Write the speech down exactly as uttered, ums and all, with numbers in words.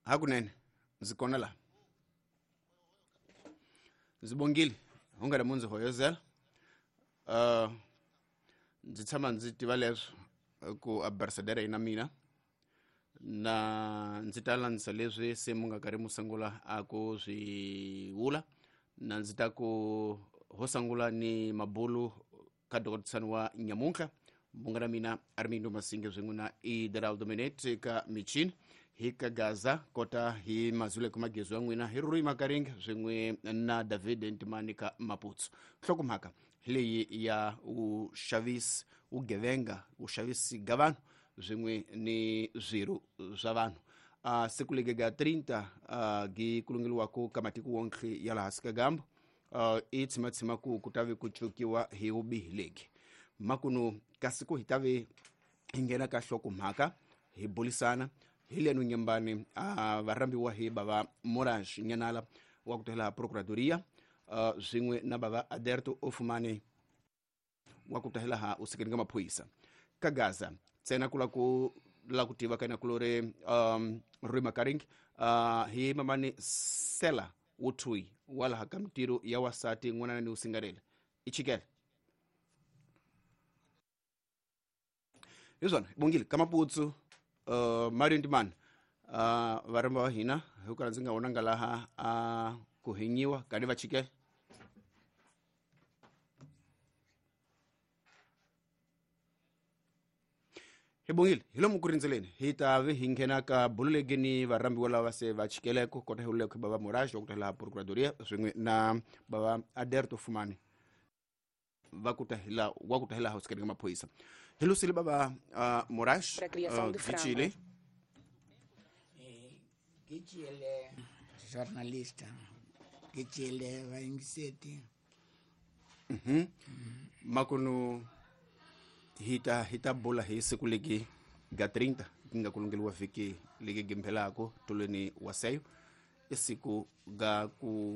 Hakunene ndzi kona laha. Ndzi bongile u nga mu ndzi hoyozela. Uh, ndzi tshama ndzi tiva leswo ku ambasadara yi na mina na ndzi ta landzisa leswi se mu nga karhi mu sungula a ku swi vula na ndzi ta ku ho sungula ni mabulu ka dokotisani wa nyamuntlha munga na mina Armindo Masinge swin'we na Ideraldo Minete ka michini hi ka Gaza kota hi mazuleko magezo ya n'wina hi Rui Makaringa swin'we na David Ntimani ka Maputsu. Nhlokomhaka hi leyi ya vuxavisi vugevenga vuxavisi ga vanhu swin'we ni swirho swa vanhu. Uh, siku lege ga trinta uh, gi kulungeliwako ka matiko wonke ya laha hansi ka gambo uh, i tshimatshima ku ku ta ve ku cukiwa hi vubihi legi makunu kasi ku hi ta ve hi nghena ka nhlokomhaka hi bulisana hi lenu nyambani uh, varhambiwa hi bava Moraes Nyanala wa ku tela Procuradoria uh, swin'we na bava Aderto Ofumani wa ku tahela ha usekeni ka maphorisa ka Gaza ntsena ku la ku la ku tiva ka na kulore um Rui Makaring uh, hi mamani Sela Wuthui wala ha ka mintirho ya wasati n'wana ni usingarela i chikele hi swona bongile ka Maputsu uh, Mario Ntimani uh, varhamba va hina hi ku ndzi nga vonanga laha a uh, ku hinyiwa kani va chikele. Hi bongile hi lomu ku rindzeleni hi ta ve hi nghena ka bululeke ni varhambiwa lava se va chikeleko kota hi uleko bava Moraes wa ku tela Procuradoria swin'we na bava Aderto Fumani va ku tahela wa ku tahela house ka maphorisa. Hi lusile bava uh, Moraes Para criação uh, de frango. Gichile Gichile jornalista Gichile vayingiseti. Mhm. Makunu hi ta hi ta bula hi siku legi ga trinta ku nga kulungeliwa vhiki legi gimphelako tolweni wa seyo i siku ga ku